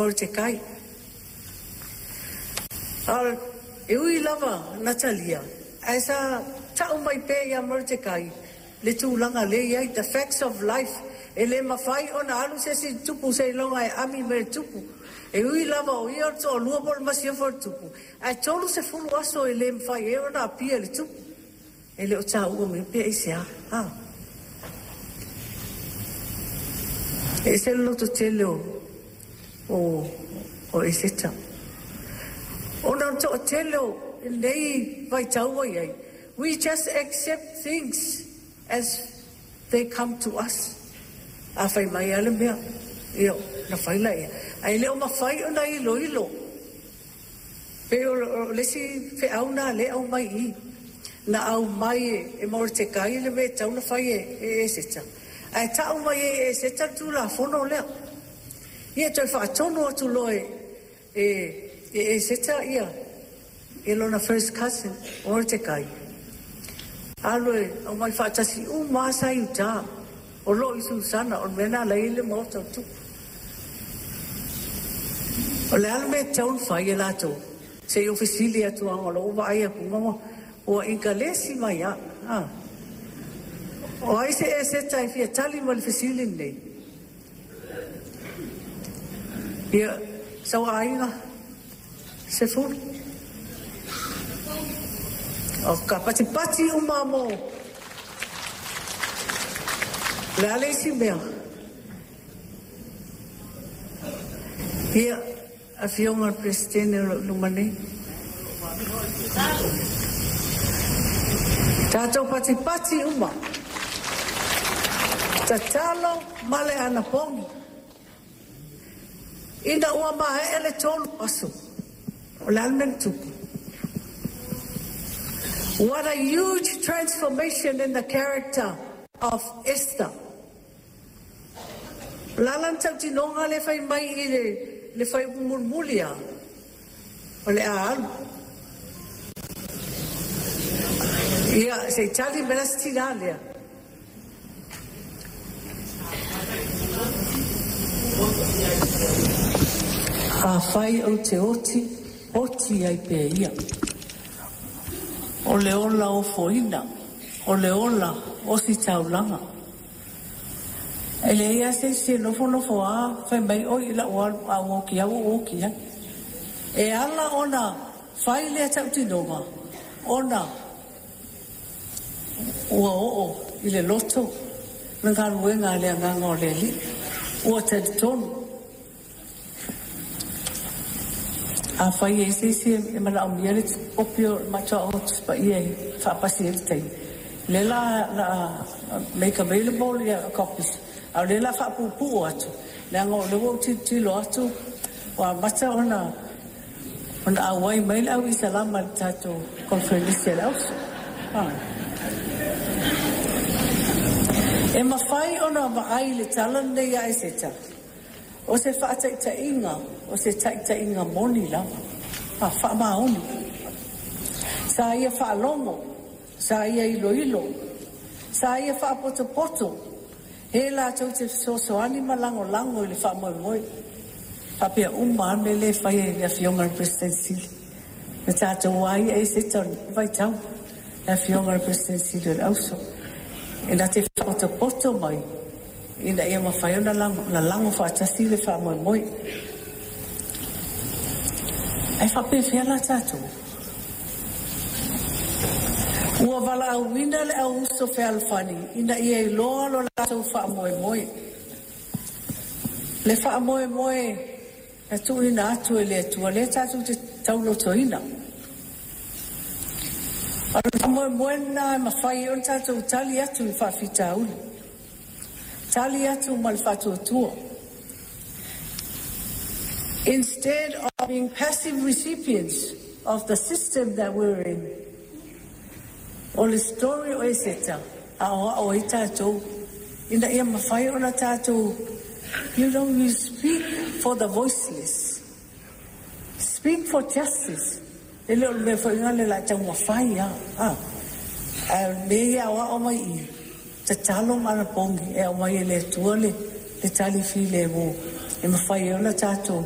Molitekai. A e ui lava na talia, ae sa ta'u mai pea ia Molitekai le tulaga lea e i ai, the facts of life, e le mafai ona alu se isi tupu seiloga e ami mai le tupu. E ui lava o ia o le toalua po o le masiofo a le tupu, ae 30 aso e le mafai ai ona apia le tupu. E le o taua mai pe aisea. E ese le lototele o Eseta. Ona o le toatele o lenei vaitau ua i ai, we just accept things as they come to us. A fai mai lava le mea, ia, na fai laia. Ae le o mafai ona iloilo. Pe o le isi feau na le au mai i. Na au mai e Molitekai le mea e tatau ona fai e Eseta. Ae ta'u mai e Eseta le Tulafono lea. Ia toe faatonu atu loa e Eseta ia lona first cousin, o Molitekai. Alu e aumai faatasi uma sa i uta. O loo i Susana, o le mea na lai le maota o tupu. O le a le mea e tatau ona fai e latou, se i ou fesili atu leaga o lou vaai atu ua ikalesi mai lava. O ai se Eseta e fia tali mai i le fesili lenei? Ia, sauaiga, 10. O ka patipati uma mo. Le a le isi mea? Ia, afioga i le Peresetene o lo o i luma nei. Tatou patipati uma. Tatalo ma le anapogi. Ina ua maea le 3 aso. O le a le mea na tupu? What a huge transformation in the character of Esther. O le a la le tautinoga le fai mai i le fai mulimuli a o le a alu. Ia, se i tali mai la se tinā lea. Afai ou te oti, oti ai pea ia. O le ola ofoina, o le ola ositaulaga. E leai lava se isi e nofonofo a fai mai oi lau alu a ua oki au ua oki ai. E ala ona fai lea tautinoga ona ua oo i le loto le galuega a le agaga o le Alii. Ua talitonu. Afai e se isi e manaomia le kopi o le Matoa o Tusi Paia e faapasi ai le taimi. Le la make available ia copies. A o lea la faapuupuu atu, leaga o lea ua ou tilotilo atu ua amata ona auai mai le au Isalama i le tatou conference a le auso. E mafai ona vaai le tala lenei a Eseta, o se faataitaiga, o se taitaiga moni lava, faamaoni. Sa ia faalogo, sa ia iloilo, sa ia faapotopoto, e latou te fesoasoani ma lagolago i le faamoemoe. Faapea uma lava mea lea e fai e le afioga i le Peresetene Sili. Le tatou a ia Eseta o le vaitau, le afioga i le Peresetene Sili o le Auso. E na te faapotopoto mai, ina ia mafai ona lalago faatasi le faamoemoe. Ae faapefea la tatou? Ua valaauina le au uso fealofani ina ia iloa lo latou faamoemoe. Le faamoemoe na tuuina atu e le Atua lea tatou te taulotoina. O le faamoemoe lena e mafai ai ona tatou tali atu i faafitauli. Tali atu ma le faatuatua. Instead of being passive recipients of the system that we're in, o le story o Eseta, a o ao ai tatou, ina ia mafai ona tatou, you speak for the voiceless. Speak for justice. E le o le mea foi ngā le la taumafai a. A me ia o ao mai i, tatalo ma anapogi e aumai e le Atua le tali filemu e mafai ai ona tatou